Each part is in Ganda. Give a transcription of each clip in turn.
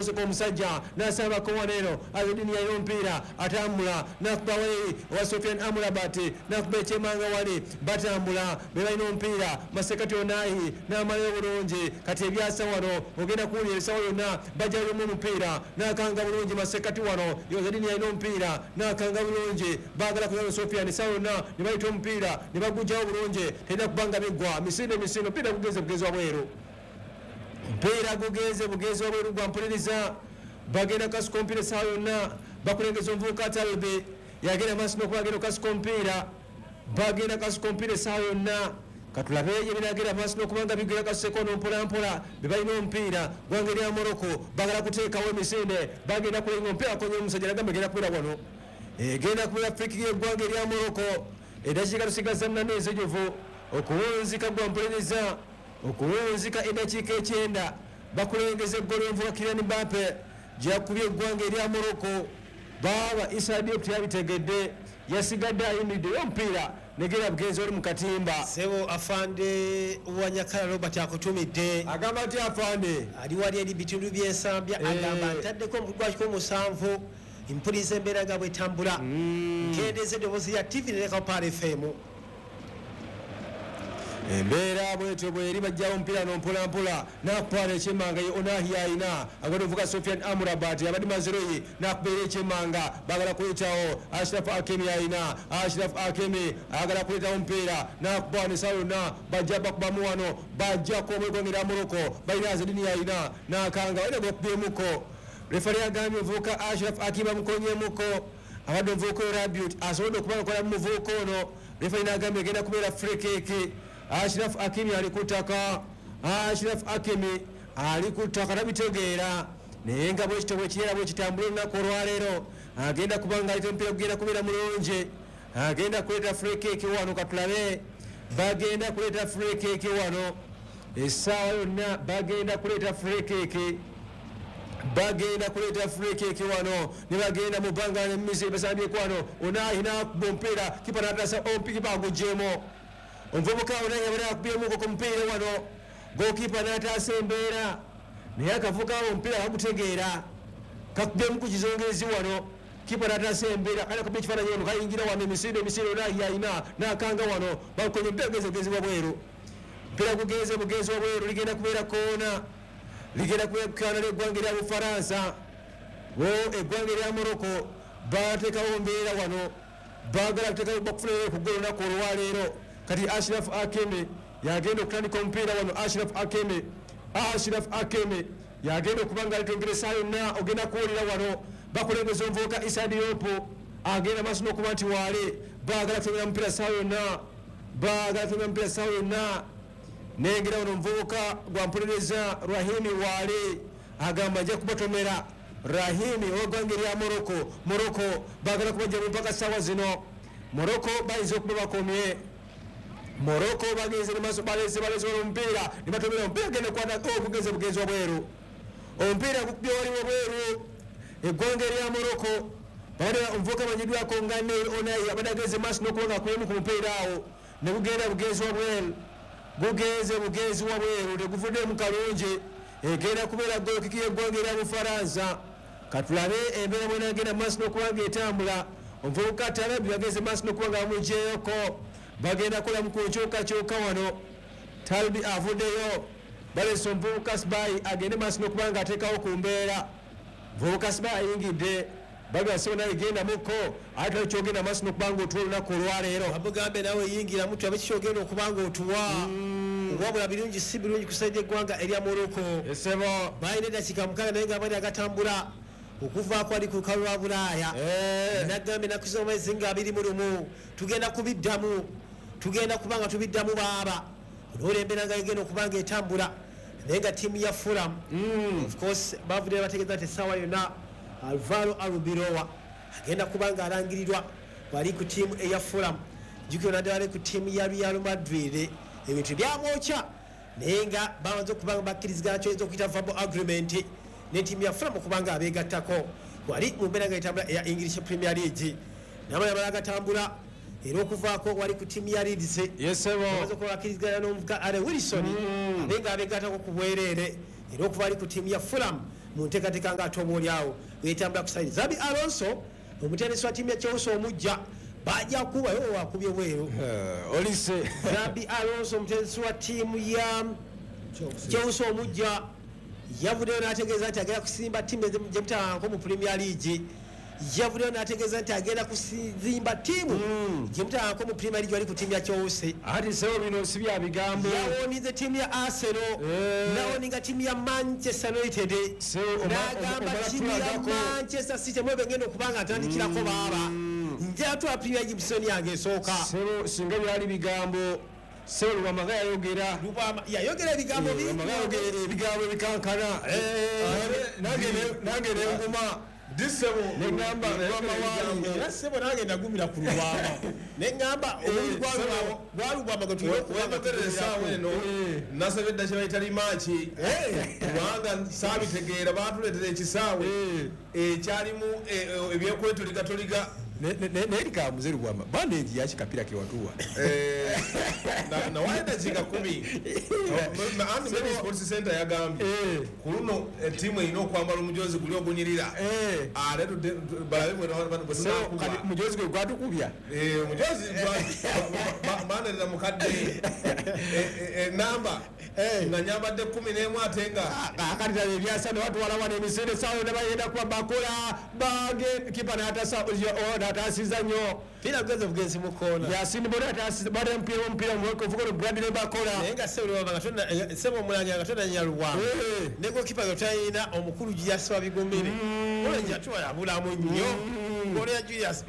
Soko omusajja n'asabako wano eno. Azedini yalina omupiira, atambula n'akuba wali owa Sofian Amrabat, n'akuba ekyemanga wali. Batambula, be balina omupiira. Masekati Onahi n'amalayo bulungi. Kati ebyasa wano ogenda kuwulira ebisawo yonna bajjayomu omupiira, n'akanga bulungi masekati wano. Azedini yalina omupiira n'akanga bulungi. Baagala kuzana Sofian esawa yonna ne bayita omupiira ne bagugjawo bulungi. Terina kubanga biggwa misinde misinde. Omupiira gugenze bugenzi wabweru, mpiira gugenze bugenzi wabweru gwa mpuliriza. Bagenda kasuka omupiira essaawa yonna. Bakulengeza omuvubuka Talbe, yagenda maaso n'okuba agenda okukasuka omupiira. Bagenda kasuka omupiira essaawa yonna. Katulabe gye binagenda maaso n'okuba nga bigwera. Kasuseko ono mpolampola, be balina omupiira. Gwanga erya Moroko bagala kuteekawo emisinde. Bagenda kulenga omupiira, akonye omusajja, nagamba egenda kubeera wano, egenda kubeera free kick y'eggwanga erya Moroko. Eddakiika tusigaza 8 enzijuvu okuwunzika gwa mpuliriza, okuwunzika eddakiika 9. Bakulengeza eggolo envuga Kylian Mbappe gyakubye eggwanga erya Moroko. Baaba Issa Diop teyabitegedde, yasigadde ayimiridde omupiira negera bugenzi oli mu katimba. Sebo afande Wanyakala Robert akutumidde. Agamba nti afande ali wali eri bitundu byensambya. Agamba ntaddeko omukulu gwakiko 7, mpuliriza embeera nga bwetambula, nkendeeza eddoboozi lya TV nereka Par FM. Embeera bwetyo bweri. Bajjawo omupiira no mpolampola, nakutwala ekyemanga ye Onahi ayina agenda ovuga Sofian Amrabat abadde Mazeroyi, nakubeera ekyemanga. Bagala kuletawo Ashraf Hakimi, ayina Ashraf Hakimi, ayagala kuletawo omupiira nakuba nesawa yonna. Bajja bakubamu wano, bajjako omwegongera Moroko. Balina Azedini, ayina nakanga, balina gwakubyemuko. Refari agambye omuvubuka Ashraf Hakimi amukonyemuko. Abadde omuvubuka oyo Rabiot asobodde okuba nga kola mu muvubuka ono. Refari nagambye egenda kubeera free kick. Ashraf Hakimi ali ku ttaka, Ashraf Hakimi ali ku ttaka, tabitegeera. Naye nga bwekito bwekirera bwekitambula olunaku olwaleero, agenda kuba nga aleta omupiira, gugenda kubeera mulungi. Agenda kuleeta free kick wano. Katulabe, bagenda kuleeta free kick wano essaawa yonna. Bagenda kuleeta free kick, bagenda kuleeta free kick wano ne bagenda mu bbanga nemizi basambyeko wano. Onahi nakuba omupiira, kipa natasa, kipa agugyemu. Omuvubuka Onahi abadde akubyemuko ku mupiira wano, gokipa n'ataasa embeera. Naye akavuka omupiira kagutegeera, kakubyemu ku kizongerezi wano, kipa n'ataasa embeera. Kale akubye ekifaananyi wano, kayingira wano emisinde emisinde. Onahi ayina n'akanga wano, bakonye omupiira, gugenze bugenzi wabweru. Omupiira gugenze bugenzi wabweru, ligenda kubeera koona, ligenda kubeera koona ly'eggwanga erya Bufaransa. Bo eggwanga erya Moroko bateekawo mbeera wano, baagala kuteekawo bakufunirayo ku ggolo olunaku olwaleero. Kati Ashraf Hakimi yagenda okutandika omupiira wano. Ashraf Hakimi, Ashraf Hakimi yagenda okuba nga alitongera essaawa yonna. Ogenda kuwulira wano bakulembeza omuvubuka Issa Diop, agenda maaso n'okuba nti waale. Baagala kutongera mupiira essaawa yonna, baagala kutongera mupiira essaawa yonna. Nengera wano omuvubuka gwampuliriza Rahimi waale, agamba ajja kubatomera. Rahimi ow'eggwanga erya Moroko. Moroko baagala kubajja mu mpaka ssaawa zino. Moroko bayinza okuba bakomye. Moroko bagenze maaso, baleze baleze wano omupiira ne batomera omupiira, genda kwata ogugenze bugenzi wabweru. Omupiira gukubye wali wabweru. Eggwanga erya Moroko babadde omuvubuka amanyiddwako nga Neil Onahi abadde agenze maaso n'okuba nga akubemu ku mupiira awo ne gugenda bugenzi wabweru. Gugenze bugenzi wabweru, teguvuddemu kalungi. Egenda kubeera goal kick y'eggwanga erya Bufaransa. Katulabe embeera bwenagenda maaso n'okuba nga etambula. Omuvubuka Talabi bagenze maaso n'okuba nga bamugyeyoko. Bagenda kukolamu ku nkyukakyuka wano. Talbi avuddeyo, balese omuvubuka Sibai agende maaso n'okuba nga ateekawo ku mbeera. Muvubuka Sibai ayingidde, bagamba sebo naye genda mukko, ate tali kyogenda maaso n'okuba nga otuwa olunaku olwaleero. Bamugambe nawe yingiramu tulabe kikyogenda okuba nga otuwa. Wabula birungi si birungi kusaidia eggwanga erya Moroko. Esebo. Balina eddakiika 6, naye nga bali agatambula okuvaako ali ku lukalu lwa Bulaaya. Nagambye ennaku z'omwezi nga 21 tugenda kubiddamu, tugenda kuba nga tubiddamu baaba olwolembera nga egenda okuba nga etambula. Naye nga ttiimu ya Fulham, of course, bavudde bategeeza nti essaawa yonna Alvaro Arbeloa agenda kuba nga alangirirwa wali ku ttiimu eya Fulham. Jjukira naddala ali ku ttiimu ya Real Madrid, ebintu byamwokya, naye nga bamaze okuba nga bakkirizigana, kyoyinza okuyita verbal agreement ne ttiimu ya Fulham okuba nga abeegattako wali mu mbeera nga etambula eya English Premier League. Namala mala agatambula era okuvaako wali ku ttiimu ya Leeds, yesebo, bamaze okuba bakkirizigana n'omuvuka Ale Wilson abe nga abeegattako ku bwereere era okuva ali ku ttiimu ya Fulham. Mu nteekateeka nga ate oba oliawo wetambula ku side. Xabi Alonso, omutendesi wa ttiimu ya Chelsea omujja, bajja kuba yo wakubye bweru. Olise. Xabi Alonso, omutendesi wa ttiimu ya Chelsea omujja, yavuddeyo n'ategeeza nti agenda kusimba ttiimu gye mutalanko mu Premier League. Yavuddeyo n'ategeeza nti agenda kuzimba ttiimu gye mutalanko mu Premier League. Wali ku ttiimu ya Chelsea. Ati sebo, bino si bya bigambo. Yawonize ttiimu ya Arsenal, nawoninga ttiimu ya Manchester United, n'agamba ttiimu ya Manchester City mwebe ngenda okuba nga atandikirako baaba njatwala Premier League mu season yange esooka. Sebo, singa byali bigambo, sebo, Lubwama yayogera. Lubwama yayogera ebigambo bingi. Lubwama yayogera ebigambo ebikankana. Nange nenguma neŋŋamba Lubwama wange. Era sebo, nange nagumira ku Lubwama, neŋŋamba omubiri gwa Lubwama gwe tulina okuba nga Wematerera essaawa eno nasabye dda kyebayita rematch, kubanga saabitegeera. Batuleetera ekisaawe ekyalimu ebyekwetuligatoliga. Naye likamuze Lubwama bandeegi yakikapira kewatuwa. Nawaye dakiika 10. Anti Mary Sports Center yagambye ku luno ettiimu erina okwambala omujozi guli ogunyirira, ate balabe bwe tunakuba. Mujozi gwe gwatukubya. Omujozi banerera mukadde enamba nga nyambadde 11 ate nga Akati tala ebyasa ne batwala wano emisinde sawa ne bagenda kuba bakola bage kipa n'atasa n'atasiza nnyo. Pira gwenze bugenzi mu koona. Yasin Bono atasiza bada omupiira, omupiira ovuga Bradley Bakola. Naye nga sebo Lubwama nga tonna, sebo omulangira nga tonanya Lubwama ne gokipa nga talina omukulu Julius Wabigumire, olwo yatwala bulamu nnyo golo ya Julius.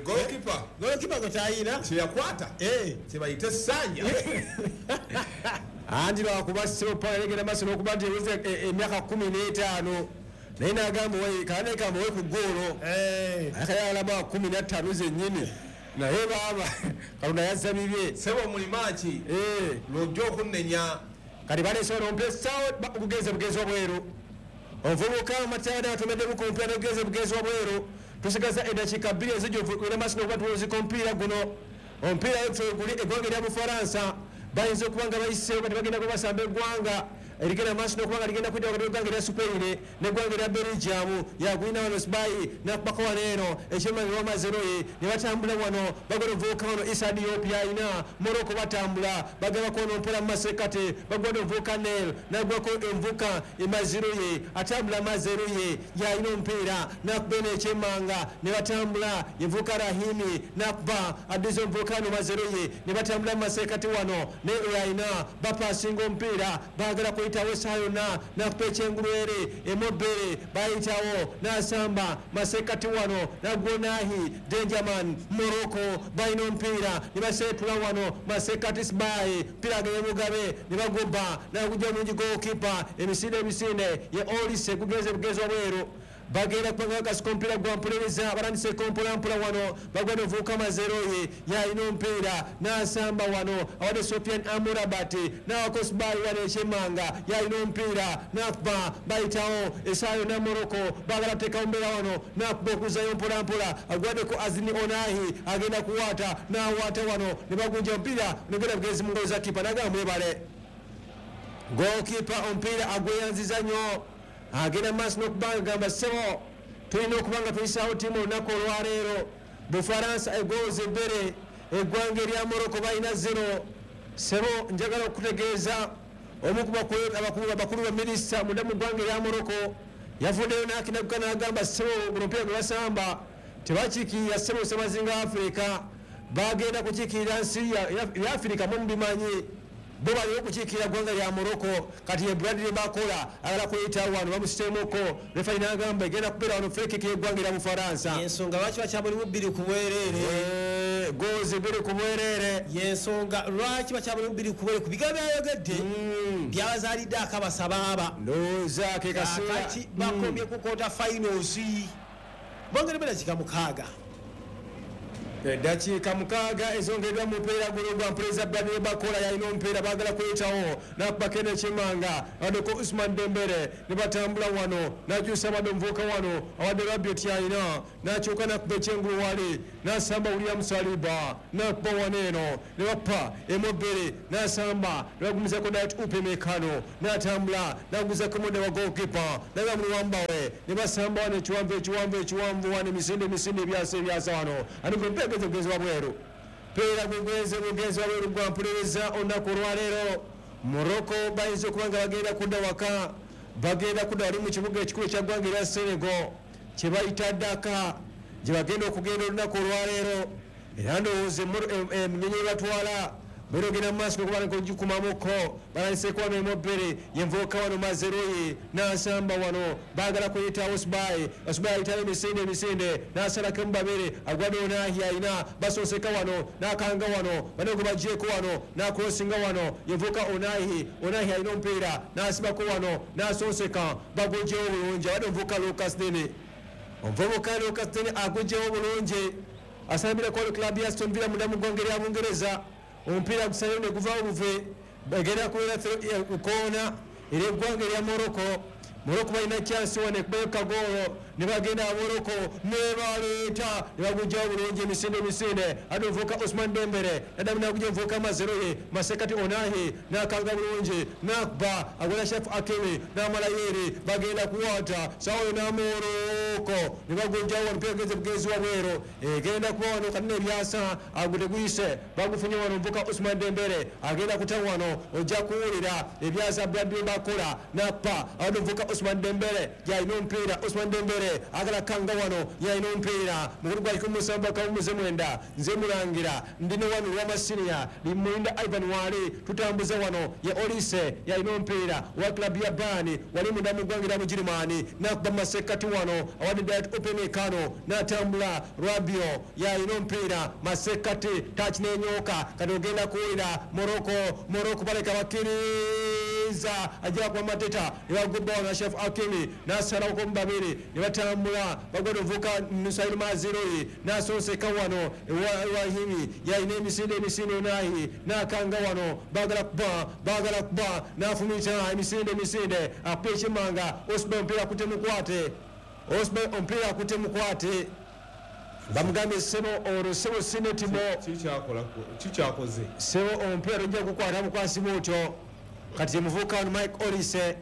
Goalkeeper. Gokipa nga talina kyeyakwata kyebayita essanja. Anti lwakuba sebo palegera maaso n'okuba nti eweze emyaka 15, naye n'agamba kanekamba we ku ggoolo akayalaba 15 zennyini, naye baaba Katonda yazza bibye. Sebo, mu rematch lwojja okunnenya. Kati baleese wano omupiira sawa gugenze bugezi wabweru. Omuvubuka Matyada atomeddemu ku mupiira n'ogugenze bugezi wabweru. Tusigaza eddakiika 2 ezijjuvu era maaso n'okuba tuwuzika omupiira guno. Omupiira guli eggwanga erya Bufalansa bayinza okuba nga bayiseewo. Kati bagenda kuba basamba eggwanga erigenda maaso n'okuba nga ligenda kuyita wakati w'eggwanga erya Spain n'eggwanga erya Belgium. Yagulina wano Sibayi nakubako wano eno ekyemmanyi wamazeroye ne batambula wano bagala omuvubuka wano Issa Diop yalina. Morocco batambula bagabako ono mpola mu masekati, bagwada omuvubuka Nel nagwako envuka emazeroye atambula. Mazeroye yalina omupiira nakuba eno ekyemmanga ne batambula. Yenvuka Rahimi nakuba addiza omuvubuka wano Mazeroye ne batambula mu masekati wano ne yalina bapasinga omupiira baagala kuyitawo essaawa yonna nakuba ekyengulu ere emobere bayitawo n'asamba masekati wano nagwonahi Dangerman. Morocco balina omupiira ne baseetula wano masekati Sibayi mpira ageye Mugabe ne bagoba nagujja mungi goalkeeper emisinde emisinde ye Olise gugenze bugezi wabweru. Bagenda kubanga bakasuka omupiira gwa mpuliriza batandiseeko mpolampola wano bagwada ovuuka Mazeroye yalina omupiira n'asamba wano awadde Sofian Amurabat n'awako Sibayi wano ekyemmanga yalina omupiira n'akuba bayitawo essaawa yonna. Morocco baagala kuteekawo mbeera wano n'akuba okuzayo mpolampola agwaddeko Azini Onahi agenda kuwaata n'awaata wano ne bagunja omupiira negenda bugenzi mu ngalo za kipa n'agamba mwebale. Goalkeeper omupiira agweyanziza nnyo, agenda maaso n'okubanga gamba ssebo tulina okuba nga tuyisaawo ttiimu olunaku olwaleero. Bufalansa egoozi ebbere, eggwanga erya Morocco balina 0. Ssebo, njagala okutegeeza omu ku abakulu ba minisita munda mu ggwanga erya Morocco yavuddeyo n'akinaguka n'agamba ssebo guno omupiira gwe basamba tebakiikirira ssebo semazinga Afirika, bagenda kukiikirira nsi ya Afirika. Mu mubimanyi bo baliwo okukiikirira ggwanga lya Morocco. Kati ye Bradley Bakola agala kuyitawo wano bamusitemuko, refali n'agamba egenda kubeera wano free kick y'eggwanga erya Bufalansa. Yensonga lwaki bakyamulimu 2 ku bwereere. Goozi 2 ku bwereere. Yensonga lwaki bakyamulimu 2 ku bwereere ku bigambo byayogedde byabazaalidde akabasa baaba. Ndowooza ke kaseera. Kati bakomye ku quarter finals, bongere 6. Eddakiika 6 ezongeddwa mu mupiira guno gwa Mpuliriza. Bradley Bakola yalina omupiira, baagala kuyitawo nakubako eno ekyemanga, abaddeko Usman Dembele ne batambula wano, n'akyusa abadde omuvubuka wano awadde Rabiot yalina, n'akyuka n'akuba ekyengulu wali, n'asamba William Saliba n'akuba wano eno ne bapa emu 2, n'asamba ne bagumizako Dayot Upamecano n'atambula n'aguzako mudde wa goalkeeper nagamuluwambawe ne basamba wano ekiwanvu ekiwanvu ekiwanvu wano, emisinde emisinde, ebyasa ebyasa wano, anigo mpegeze bugenzi wabweru, peera gugenze bugenzi wabweru gwa Mpuliriza. Olunaku olwaleero Morocco bayinza okuba nga bagenda kudda waka, bagenda kudda wali mu kibuga ekikulu ekya ggwanga erya Senegal kye bayita Dakar, gye bagenda okugenda olunaku olwaleero. Era ndowooza enyonyi ebatwala berogenda mu maaso okuba ng'ogikumamuko. Balandiseeko wano emu 2, yenvuuka wano Mazeroyi n'asamba wano, baagala kuyita Osbai, Osbai ayitayo emisinde emisinde n'asalako emu babiri, agwadde Onahi ayina basooseka wano n'akanga wano banogo bagyeko wano n'akrosinga wano, yenvuuka Onahi, Onahi alina omupiira n'asibako wano n'asooseka, bagugyewo bulungi. Abadde omuvubuka Lucas Dini, omuvubuka Lucas Dini agugyewo bulungi, asambirako club ya Aston Villa munda mu ggwanga erya Bungereza. Omupiira gusayo ne guvaawo buve, bagenda kubeera koona era eggwanga erya Morocco. Morocco balina chance wano ekubayo kagoolo ne bagenda Morocco ne baleeta ne bagugyawo bulungi, emisinde emisinde, ate omuvubuka Osman Dembele naddamu nagugya omuvubuka Mazeroye masekati Onahi n'akanga bulungi n'akuba agola Chef Akimi n'amala yeeri, bagenda kuwata sawa yona Morocco ne bagugyawo wano, omupiira gugenze bugenzi wabweru, egenda kuba wano kanene ebyasa ago teguyise, bagufunye wano omuvubuka Osman Dembele agenda kuta wano, ojja kuwulira ebyasa Bradley Bakola n'akuba awadde omuvubuka Osman Dembele yalina omupiira. Osman Dembele agala kanga wano, yalina omupiira mukulu gwa 17 kawumuze 9. Nze mulangira ndine wano lwamasinia limulinda Ivan wali tutambuza wano, ye Olise yalina omupiira wa club ya Bayern wali munda mu ggwanga erya Bugirimani, n'akuba masekati wano awadde Dayot Upamecano n'atambula, Rabiot yalina omupiira masekati touch n'enyooka. Kati ogenda kuwulira Morocco, Morocco baleka bakkiriza ajja kuba Mateta ne bagubba wano Chef Akimi n'asalako mu babiri ne batambula, bagwada ovuka Nusairu Maziroi n'asonseka wano Ewahimi yalina emisinde emisinde, Onahi n'akanga wano, baagala kuba, baagala kuba, n'afumita emisinde emisinde, akuba ekimanga Osman, omupiira akutte mukwate, Osman omupiira akutte mukwate, bamugambye sebo olwo sebo sinetimo. Kikyakoze. Sebo omupiira tojja kukwata bukwasi bwotyo. Kati emuvubuka wano Mike Olise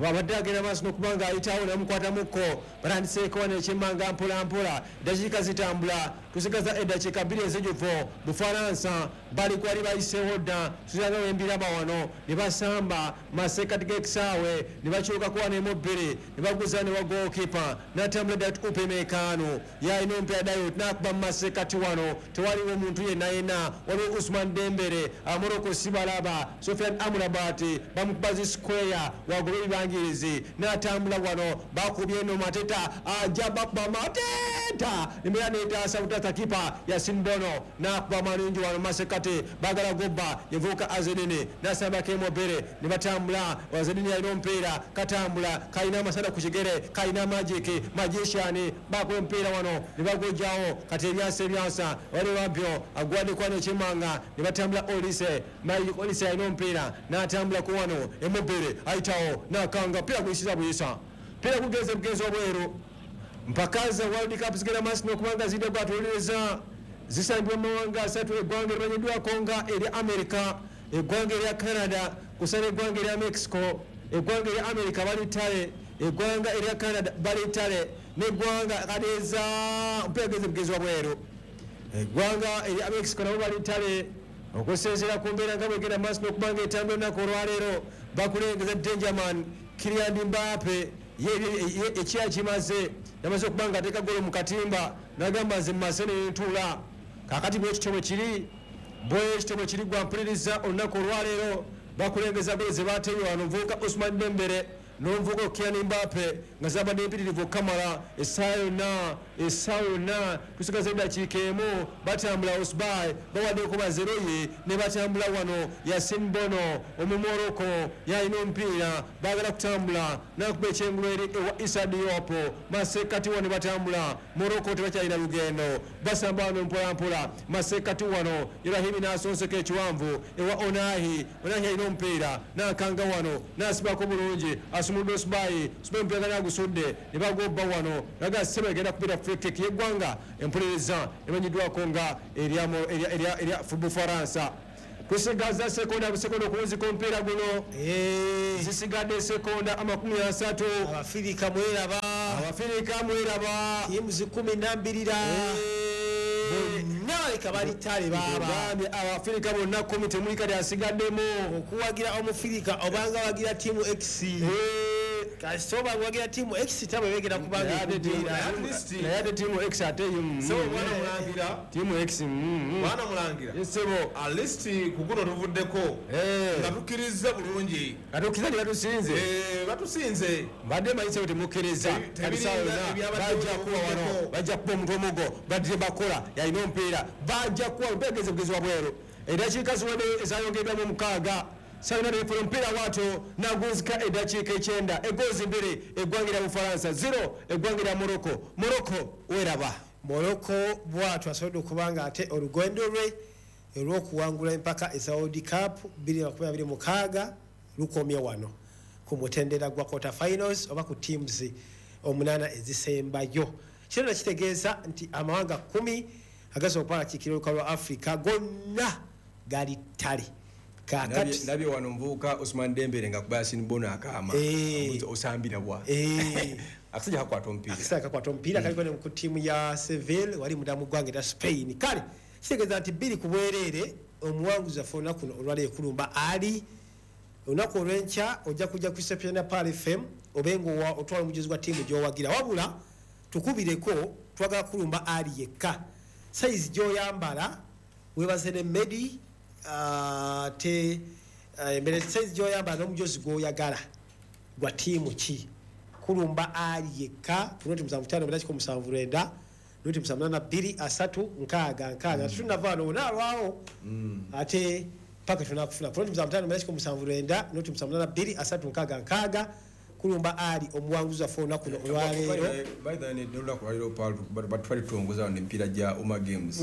babadde agenda maaso n'okuba nga ayitawo namukwatamuko, batandiseeko wano ekyemmanga mpola mpola, eddakiika zitambula, tusigaza eddakiika 2 ezijuvu. Bufalansa bali kwali bayiseewo dda, tuzanga wembiraba wano ne basamba masekati g'ekisaawe ne bakyukako wano emu 2 ne baguza ne wa goalkeeper n'atambula Dayot Upamecano yalina omupiira, Dayot n'akuba mu masekati wano, tewaliwo muntu yenna yenna, waliwo Usman Dembele. Morocco sibalaba, Sofian Amrabat bamukuba zi square wagoba ebibangirizi n'atambula wano, bakubye eno Mateta ajja bakuba Mateta embeera netaasa butata, kipa Yasin Bono n'akuba malungi wano masekati, bagala gobba yevuuka Azedini n'asambako emobere ne batambula. Azedini alina omupiira katambula, kalina amasanda ku kigere, kalina magic magician, bakuba omupiira wano ne bagujjawo. Kati ebyasa ebyasa wali Rabiot agwaddeko wano ekyemanga ne batambula. Olise, Mike Olise alina omupiira n'atambulako wano emobere ayitawo n'akanga pira guyisiza buyisa, pira gugenze bugenzi obweru. Mpaka za World Cup zigenda maaso n'okubanga zidde gwatuwuliriza, zisangibwa mu mawanga asatu: eggwanga erimanyiddwako nga erya America, eggwanga erya Canada, kusala eggwanga erya Mexico. Eggwanga erya America bali ttale, eggwanga erya Canada bali ttale, n'eggwanga kaleeza omupiira genze bugenzi wabweru. Eggwanga erya Mexico nabo bali ttale. Okusinziira ku mbeera nga bwegenda maaso n'okuba nga etambula olunaku olwaleero, bakulengeza Dangerman Kylian Mbappe, ye ekya kimaze, yamaze okuba nga ateeka golo mu katimba n'agamba nze mumase nentuula. Kakati bwekityo bwe kiri, bwekityo bwe kiri gwampuliriza. Olunaku olwaleero bakulengeza golo ze bateebye wano omuvubuka Osman Dembele n'omuvubuka Kylian Mbappe nga zabadde empitirivu okukamala. Essaawa yonna, essaawa yonna tusigaza eddakiika 1. Batambula Osbai bawaddeko Bazeroyi ne batambula wano, Yasin Bono Omumoroko yalina omupiira, baagala kutambula. Nakuba ekyengulu eri ewa Issa Diop. Masekati wano batambula. Morocco tebakyalina lugendo. Basamba wano mpola mpola. Masekati wano Ibrahim n'asonseka ekiwanvu ewa Onahi. Onahi alina omupiira n'akanga wano n'asibako bulungi, asumuludde Osibayi. Osibayi omupiira gana agusudde ne bagobba wano. Naga Sebe egenda kubira free kick y'eggwanga empuliriza emanyiddwako nga erya Bufaransa. Tusigaza sekonda busekonda okuwuzika omupiira guno. Zisigadde sekonda 30. Abafirika mweraba. Abafirika mweraba. Tiimu 12 bonna baleka bali ttale baaba. Gambye Abafirika bonna 10, temuli kati asigaddemu. Okuwagira Omufirika obanga wagira tiimu X, kasita obanga wagira tiimu X tabwe begera kubanga ekuddira. Naye ate tiimu X ate Sebo mwana mulangira. Tiimu X. Mwana mulangira. Sebo. At least ku guno tuvuddeko nga tukkiriza bulungi. Katukkiriza nti batusinze. Batusinze. Mbadde manyi sebo temukkiriza. Kati saawa yonna ebyabadde bajja kuba wano, tuvuddeko. Bajja kuba omuntu omugo, badde bakola yalina omupiira, bajja kuba omupiira gezi wabweru. Eddakiika ziwedde ezayongeddwamu 6. Salina refera omupiira bwatyo nagunzika eddakiika 9, egoozi 2 eggwanga lya Bufalansa, 0 eggwanga lya Morocco. Morocco weraba. Morocco bwatyo asobodde okuba nga ate olugendo lwe olw'okuwangula empaka eza World Cup 2026 lukomye wano ku mutendera gwa quarter finals oba ku teams 8 ezisembayo. Kino kitegeeza nti amawanga 10 agasobola okuba nga akiikirira olukalu lwa Africa gonna gali ttale. Kaakati Ndabye wano omuvubuka Osman Dembele nga kuba Yasin Bono akaama. Amubuuza, osambira bwa? Akasajja kakwata omupiira. Akasajja kakwata omupiira, kaliko ne ku ttiimu ya Seville wali munda mu ggwanga erya Spain. Kale kitegeeza nti 2-0 omuwanguzi waffe olunaku luno olwaleero ekulumba ali olunaku olw'enkya ojja kujja ku reception ya Pearl FM obe nga otwala omujuzi gwa ttiimu gy'owagira. Wabula tukubireko, twagala kulumba ali yekka. Sayizi gy'oyambala weebaze ne Medi, ate embere sayizi gy'oyambala n'omujozi gw'oyagala gwa ttiimu ki. Kulumba ali yekka ku 075 979 078 2 3 66. Tunava wano onaalwawo ate paka tunakufuna ku 075 979 078 2 3 66. Kulumba ali omuwanguzi waffe olunaku luno olwaleero. By the way, n'olunaku olwaleero batwali tutongoza wano emipiira gya Uma Games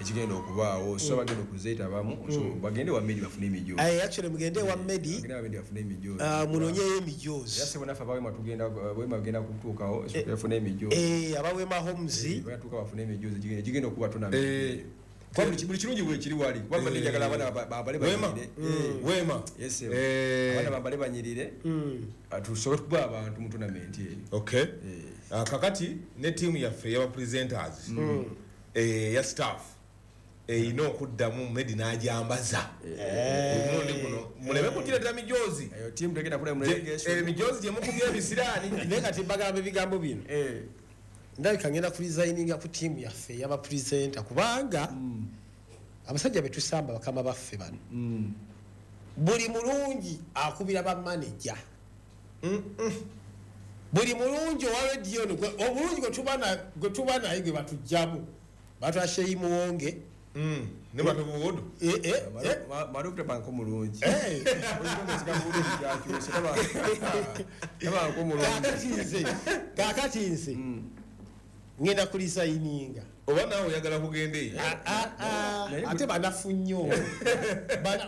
ekigenda okubaawo, so bagenda okuzeetabamu, so bagende wa Medi bafune emijoozi. Actually mugende ewa Medi. Bagende wa Medi bafune emijoozi. Munoonyeyo emijoozi. Era sebo naffe abawema tugenda, Wema bagenda kutuukawo, so bafune emijoozi. Abawema Homes. Bagenda bafune emijoozi, egigenda okuba tournament. Kuba buli kirungi bwe kiri wali. Kuba mbadde njagala abaana bambale Wema. banyirire. Wema. Yes, sir. Abaana bambale banyirire. Tusobole okuba abantu mu tournament eyo. Okay. Kakati ne ttiimu yaffe ey'aba presenters ya staff erina okuddamu Medi n'agyambaza omulundi guno, muleme kugireetera mijoozi. Eyo ttiimu tegenda kula mu relegation. Emijoozi gye mukubye ebisiraani. Naye kati mbagamba ebigambo bino, ndabika ngenda kuresigninga ku ttiimu yaffe ey'aba presenter, kubanga abasajja betusamba bakama baffe bano buli mulungi akubira bamaneja, buli mulungi owa rediyo ono obulungi gwe tuba naye gwe batugjamu batwa Sheyi Muwonge. Ne batubuudu. Marufu tabanko mulungi. Tabanko mulungi. Kaakati nze ngenda kuresigninga. Oba naawe oyagala kugenda eyo? Ate banafu nnyo.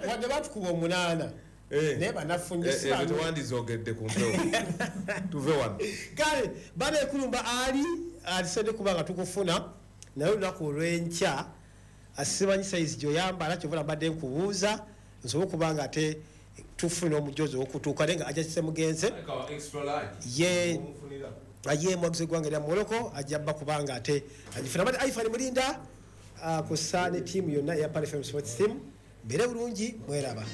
Wadde batukuba 8, naye banafu nnyo. Ezo tewandizoogedde ku mpewo, tuve wano. Kale baneekulumba ali atusobodde kuba nga tukufuna naye olunaku olw'enkya. Asimanyi sayizi gy'oyambala, kyova mbadde nkubuuza nsobole okuba nga ate tufuna omujozi ow'okutuuka, naye nga ajja kise mugenze ye aye mwagizi eggwanga erya Morocco ajja bba kubanga ate agifuna. Mbadde Ifan Mulinda, kussa ne ttiimu yonna eya Pearl FM Sports Team. Mbeere bulungi, mweraba.